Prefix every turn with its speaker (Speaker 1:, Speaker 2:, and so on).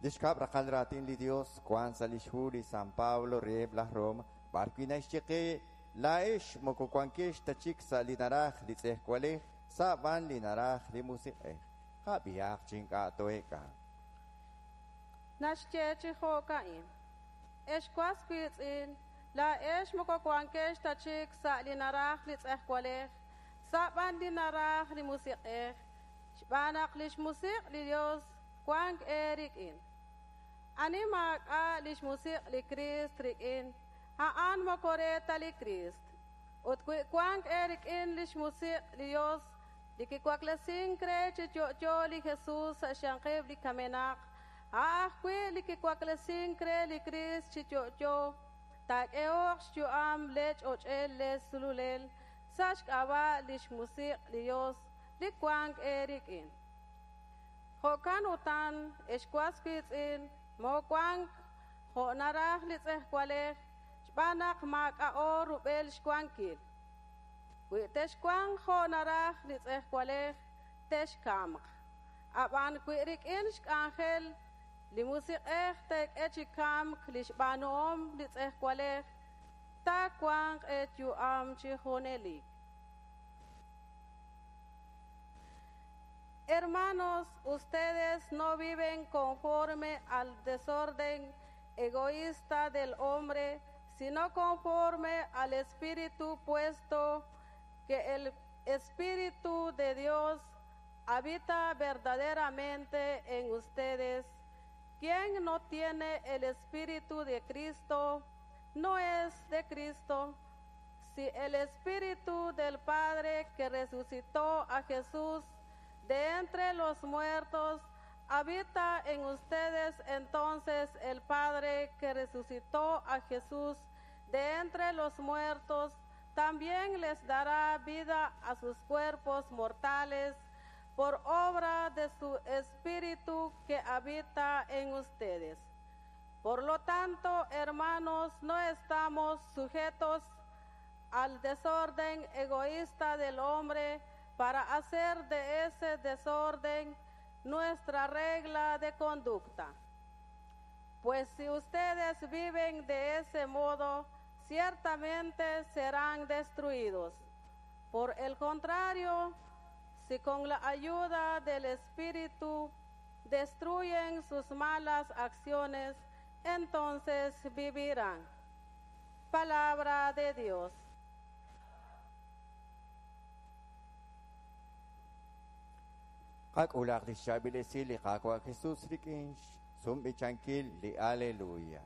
Speaker 1: Li xkab' raqal raatin li Dios wank sa' lix hu li San Pablo reheb' laj Roma, b'ar wi' naxye qe laa'ex moko wankex ta chik sa' li naraj li tz'ejwalej, sa' b'an li naraj li musiq'ej. Qab'ihaq chi ink'a' to'eek'a.
Speaker 2: Naxye chi jo'ka'in: Ex was wiitz'in, laa'ex moko wankex ta chik sa' li naraj li tz'ejwalej, sa' b'an li naraj li musiq'ej, xb'aan naq lix musiq' li Dios wank eerik'in. Ani maak'a' lix musiq' li Kriist rik'in, a'an moko re ta li Kriist. Ut wi wank eerik'in lix musiq' li Dios li kiwaklesink re chi yo'yo li Jesus sa' xyanqeb' li kamenaq, a' ajwi' li kiwaklesink re li Kriist chi yo'yo, taak'ehoq xyu'am le ch'och'el le sululel sa' xk'ab'a' lix musiq' li Dios li wank eerik'in. Jo'kan utan, ex was wiitz'in, moowank jo' naraj li tz'ejwalej, xb'aan naq maak'a'o rub'el xwankil. Wi texwanq jo' naraj li tz'ejwalej, texkamq. Ab'an wi rik'in xk'anjel li musiq'ej teek'e chi kamk li xb'aanuhom li tz'ejwalej, taawanq eeyu'am chi junelik. Hermanos, ustedes no viven conforme al desorden egoísta del hombre, sino conforme al Espíritu, puesto que el Espíritu de Dios habita verdaderamente en ustedes. Quien no tiene el Espíritu de Cristo, no es de Cristo. Si el Espíritu del Padre que resucitó a Jesús de entre los muertos habita en ustedes, entonces el Padre que resucitó a Jesús de entre los muertos también les dará vida a sus cuerpos mortales por obra de su Espíritu que habita en ustedes. Por lo tanto, hermanos, no estamos sujetos al desorden egoísta del hombre para hacer de ese desorden nuestra regla de conducta. Pues si ustedes viven de ese modo, ciertamente serán destruidos. Por el contrario, si con la ayuda del Espíritu destruyen sus malas acciones, entonces vivirán. Palabra de Dios.
Speaker 1: Qak'ulaq lix chaab'il esil li Qaawa' Jesus rik'in xsumb'ichankil li Aleluya.